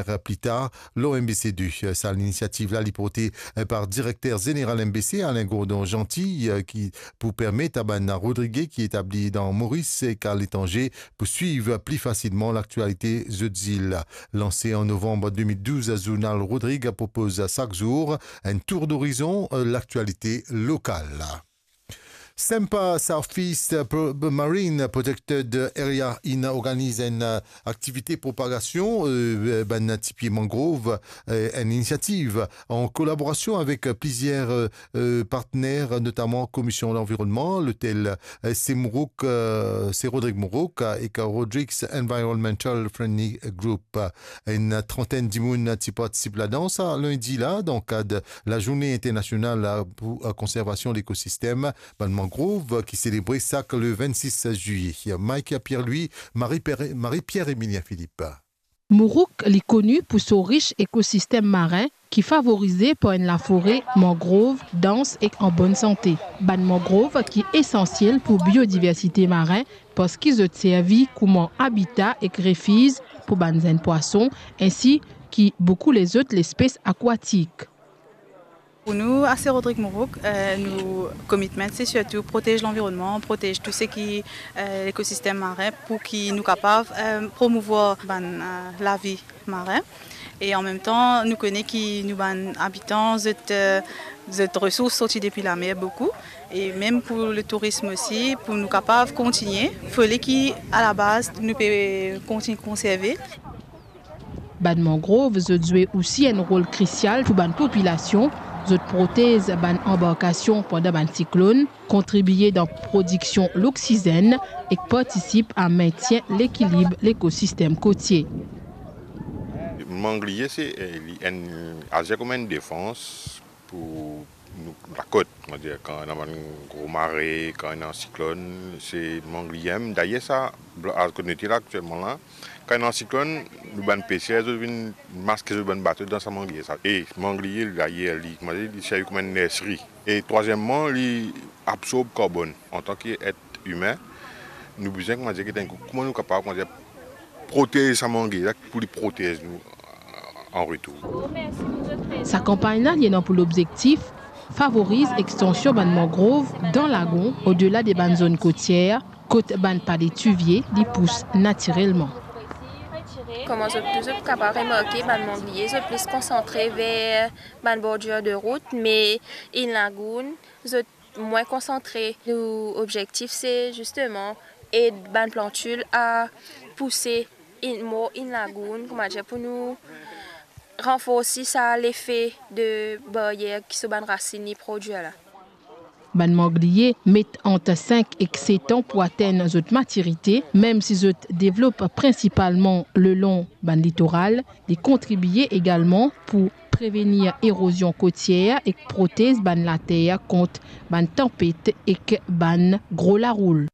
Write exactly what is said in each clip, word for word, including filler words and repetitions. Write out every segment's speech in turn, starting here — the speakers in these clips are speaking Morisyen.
eh, pli tar lor M B C de. Sa linisiativ la, li porte, eh, par direkter zeneral M B C, Alain Gourdon Jeanty, eh, ki pou permet a bann Rodrige ki etabli dan Moris ek aletranze pou swiv pli fasilman laktialite zot zil. Lanse an novanm de mil douz, zournal Rodrig propoz sak zour enn tour dorizon, eh, laktialite lokal. SEMPA, Southeast Pro-, Marine Protected Area, inn organiz enn, eh, aktivite propagasion, eh, bann tipie mangrov, eh, enn inisiativ an kolaborasion avek plizier, eh, eh, partner, notaman Komision Lanvironnman, lotel, eh, Semourouk, eh, Se Rodrig Mourouk, eh, ek Rodrigues Environmental Friendly Group. Enn trantenn dimoun ti partisip ladan sa lindi la, dan kad lazourne internasional pou, eh, konservasion lekosistem bann mangrov ki selebre sak le vennsis zilie. Mike Pierre-Louis, Marie-Pierre, Marie-Pierre Emilien Philippe. Mourouk, li koni pou so ris ekosistem marin ki favorize par enn lafore mangrov dans ek an bonn sante. Bann mangrov ki esansiel pou biodiversite marin, parski zot servi kouma abita ek refiz pou bann zenn pwason, ensi ki boukou lezot lespes akwatik. Pou nou, ase Rodrig Mourouk, eh, nou commitment, se sirtou protez lanvironnman, protez tou seki, eh, lekosistem marin pou ki nou kapav, eh, promouvwar bann, eh, lavi marin. E an mem tan, nou kone ki nou bann abitan, zot, eh, zot resours sorti depi lamer boukou. E mem pou le tourism osi, pou nou kapav kontigne, fode ki, a la baz, nou pe kontigne konserve. Bann mangrov, zot zwe osi enn rol krisial pou bann popilasion. Zot protez bann anbarkasion pandan bann siklonn, kontribie dan prodiksion loksizenn ek partisip a mentien lekilib lekosistem kotie. Mangliye, se, eh, li enn, azir kouma enn defans pou nou, lakot, on va dire, kan ena bann gro mare, kan ena siklonn, se mangliye. Dayer sa, bla-, kot nou ete la aktielman la, kan ena siklonn, nou bann peser, zot vinn maske zot bann bato dan sa mangliye sa. E mangliye, dayer, li, on va dire, li servi kouma enn nerseri. E trwazieman, li absorb karbonn. Antan ki et imin, nou bizin, kouma dir, get enn kou, kouma nou kapav, kouma dir, protez sa mangliye la pou li protez nou an retour. Sa kanpagn la, li ena pou lobzektif favoriz extansion bann mangrov dan lagon, odela de bann zonn kotier, kot bann pale tivie li pous natirelman. Kouma zot tou, zot kapav remarke, bann mangliye, zot plis konsantre ver bann bordir de rout, me in lagoon, zot mwin konsantre. Nou obzektif, se zisteman ed bann plantil a pouse in, more in lagoon, kouma dir, pou nou ranforsi sa lefe de baryer ki so bann rasinn li prodwir la. Bann mangliye met ant sink ek set an pou atenn zot matirite, mem si zot devlop prinsipalman lelong bann litoral, li kontribie egalman pou prevenir erozion kotier ek protez bann later kont bann tanpet ek bann gro laroul.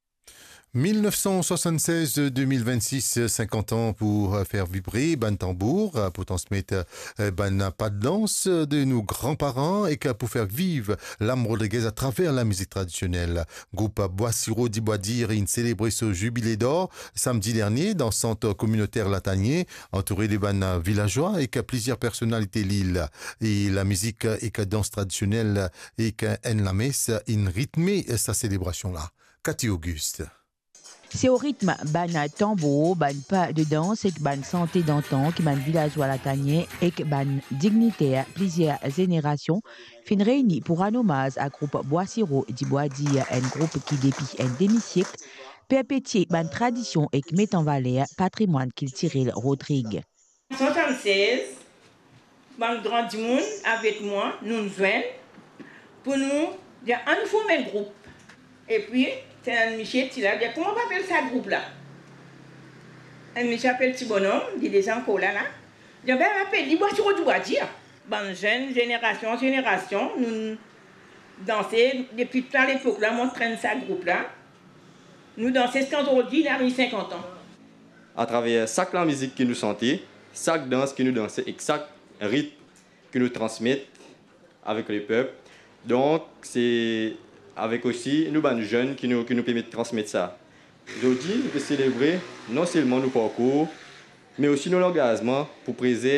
Mil nef san swasann-sez, de mil vennsis, sinkant an pou, eh, fer vibre bann tanbour, eh, pou transmet, eh, bann pa de dans de nou gran paran ek pou fer viv lam rodrigez atraver lamizik tradisionel. Group Bwa Siro di Bwa Dir inn selebre so zibile dor samdi dernie dan sant kominoter Latanie, antoure de bann vilazwa ek plizier personalite lil. E lamizik ek dans tradisionel ek enn lames inn ritme sa selebrasion la. Cathy Auguste. Se o ritm bann tanbour, bann pa de dans ek bann sante dantan ki bann vilazwa Latanie ek bann digniter plizier zenerasion finn reyni pou rann omaz a group Bwa Siro di Bwa Dir, enn group ki depi enn demi siek perpetie bann tradision ek met an valer patrimwann kiltirel Rodrig. Swasann-sez, bann gran dimoun avek mwa, nou zwenn pou nou dir, ann form enn group. Epi, ti ena enn misie ti la, dir, kouma nou apel sa group la? Enn misie apel Ti Bonom, li deza ankor la la. Dir, be, apel li Bwa Siro di Bwa Dir. Bann zenn, zenerasion an zenerasion, nou danse depi ta lepok la, mo trenn sa group la. Nou danse ziska zordi, li ariv sinkant an. Atraver sak lamizik ki nou sante, sak dans ki nou danse ek sak ritm ki nou transmet avek lepep. Donk, se avek osi nou bann zenn ki nou, ki nou permet transmet sa. Zordi, nou pe selebre non selman nou parkour, me osi nou langazman pou prezerv